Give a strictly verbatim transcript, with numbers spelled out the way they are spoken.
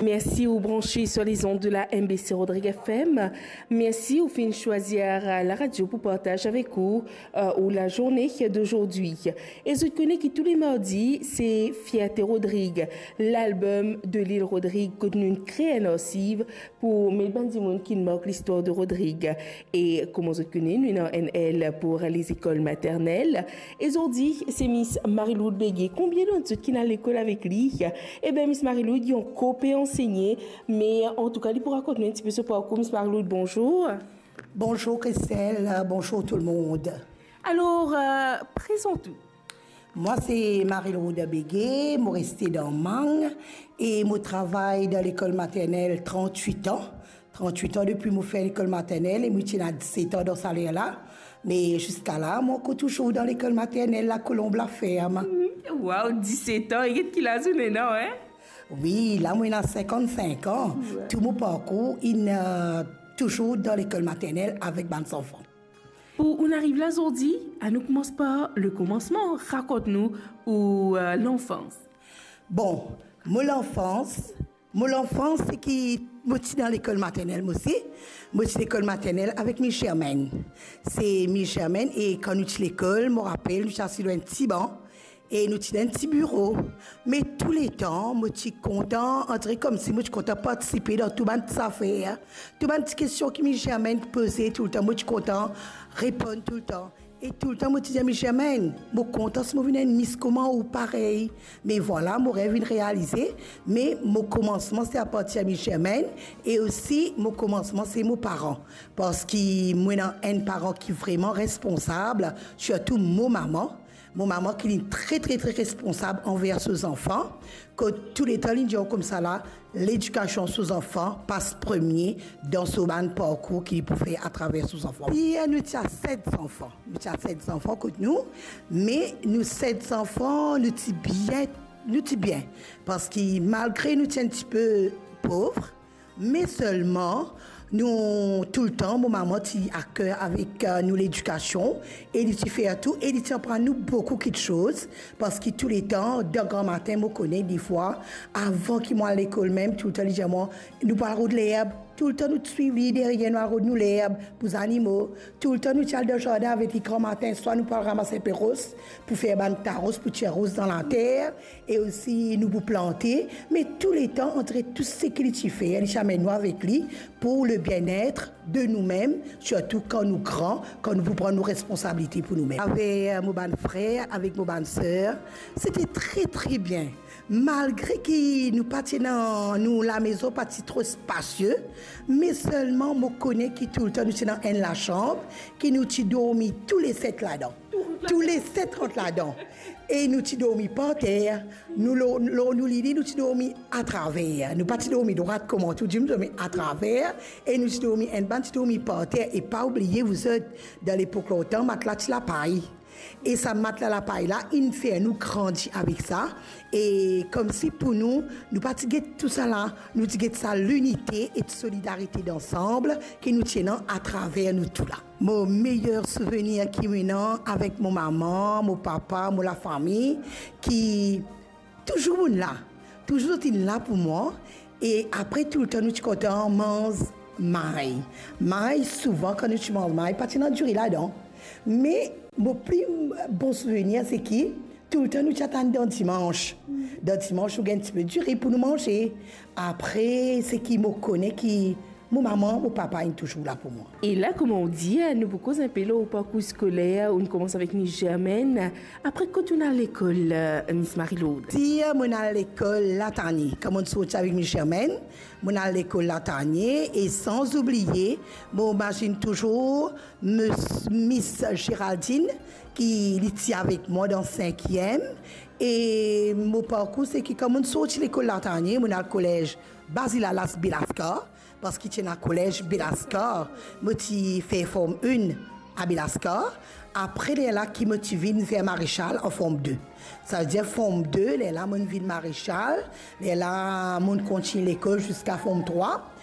Mersi ou branche sur les ondes de la M B C Rodrigues F M. Mersi ou finn swazir, euh, la radio pou partaz avek ou, euh, ou la journée d'aujourd'hui. E zot kone ki tou le mardi, se Fierté Rodrigues, lalbom de Lil Rodrigues kot nou kre enn arsiv pou met bann dimoun ki mark listwar de Rodrigues. E kouma zot kone, nou ena enn L pou lezekol maternel. E zordi, se Miss Marie-Lourdes Béguet. Konbien dan zot ki'nn al lekol avek li? Eben, Miss Marie-Lourdes, li ankor pe ansegne, me antouka, li pou rakont nou enn tipe so parkour. Miss Marie-Lourdes, bonzour. Bonzour Christelle, bonzour tout le monde. Alor, euh, prezant ou. Mwa se Marie-Lourdes Béguet, mo reste dan Mang e mo travay dan lekol maternel trant-wit an. Trant-wit an depi mo fer lekol maternel e mo ti ena diset an dan sa ler la. Me ziska la, mo ankor touzour dan lekol maternel La Colombe La Ferme. Mhm. Waw, diset an, e get ki laz ou ena, hein? Wi, la mo ena sinkant-sink an. Wi. Tou mo parkour inn, euh, touzour dan lekol maternel avek bann zanfan. Pou ou'nn ariv la zordi, anou koumans par le komansman. Rakont nou ou, euh, lanfans. Bon, mo lanfans, mo lanfans se ki mo ti dan lekol maternel, mo osi. Mo ti lekol maternel avek Miss Germaine. Se Miss Germaine, e kan nou ti lekol, mo rapel, nou ti asiz lor enn ti ban. E nou ti dan enn ti biro. Me touletan, mo ti kontan, andire koumsi mo ti kontan partisipe dan tou bann ti zafer, tou bann ti kestion ki Miss Germaine poze touletan, mo ti kontan reponn touletan. E touletan, mo ti dir Miss Germaine, mo kontan si mo vinn enn Miss kouma ou, parey. Me vwala, mo rev inn realize, me mo komansman se apartir Miss Germaine, e osi mo komansman se mo paran. Parski mo ena enn paran ki vreman responsab, sirtou mo mama. Mo mama ki li tre, tre, tre responsab anver so zanfan, kot touletan li dir koumsa la, ledikasion so zanfan pas premie dan so bann parkour ki li pou fer atraver so zanfan. Pi nou ti a set zanfan, nou ti a set zanfan kot nou, me nou set zanfan, nou ti bien, nou ti bien, parski malgre nou ti enn tipe pov, me selman, nou, touletan, mo mama ti aker avek, euh, nou ledikasion, e li ti fer tou, e li ti aprann nou boukou kiksoz, parski touletan, dan gramatin, mo kone, defwa, avan ki mo al lekol mem, touletan, li dir mwa, nou pou al rod lerb. Touletan, nou ti swiv li deryer, nou al rod nou lerb pou zanimo. Touletan, nou ti al dan zardin avek li gramatin, swa nou pou al ramas enpe ros pou fer bann taros, pou tir ros dan later, e osi nou pou plante, me touletan, antre tou seki li ti fer, li ti amenn nou avek li pou le bien-être de nou mem, sirtou kan nou gran, kan nou pou pran nou responsabilite pou nou mem. Avek mo bann frer, avek mo bann ser, se ti tre, tre bien. Malgre ki nou pa ti ena, nou lamezon pa ti tro spasie, me selman mo kone ki touletan nou ti ena enn lasanm, ki nou ti dormi tou le set ladan. Tou le set rant ladan. E nou ti dormi par ter. Nou lor, lor nou lili, nou ti dormi atraver. Nou pa ti dormi drwat kouma tou dimoun, nou dormi atraver. E nou ti dormi, enn bann ti dormi par ter. E pa oubliye, vouzot, dan lepok lontan, matla ti lapay. E sa matla lapay la, inn fer nou grandi avek sa. E koumsi pou nou, nou pa ti get tousala, nou ti get sa linite e solidarite dansam ki nou ti ena atraver nou tou la. Mo meyer souvenir ki mo ena avek mo mama, mo papa, mo lafami, ki touzour inn la. Touzour zot inn la pou mwa. E apre, touletan nou ti kontan manz may. May, souvan, kan nou ti manz may, pa ti ena diri ladan. Me mo pli bon souvenir, se ki touletan nou ti atann dan dimans. Dan dimans, nou gagn tipe diri pou nou manze. Apre, se ki mo kone ki mo mama, mo papa inn touzour la pou mwa. E la, kouma ou dir, nou pou koz enpe lor ou parkour skoler, ou'nn koumans avek Miss Germaine. Apre, kot ou'nn al lekol, euh, Miss Marie-Lourdes? Dir, mo'nn al lekol Latanie. Kan mo'nn sorti avek Miss Germaine, mo'nn al lekol Latanie, e san oubliye, mo mazinn touzour Miss, Miss Géraldine, ki li ti avek mwa dan sinkiem. E mo parkour, se ki kan mo'nn sorti lekol Latanie, mo'nn al kolez Bazilalas Belascar, parski ti ena kolez Belascar, mo ti fer form enn a Belascar. Apre, lerla ki mo ti vinn ver Marechal an form de. Savedir form de, lerla mo'nn vinn Marechal, lerla mo'nn kontign lekol ziska form trwa.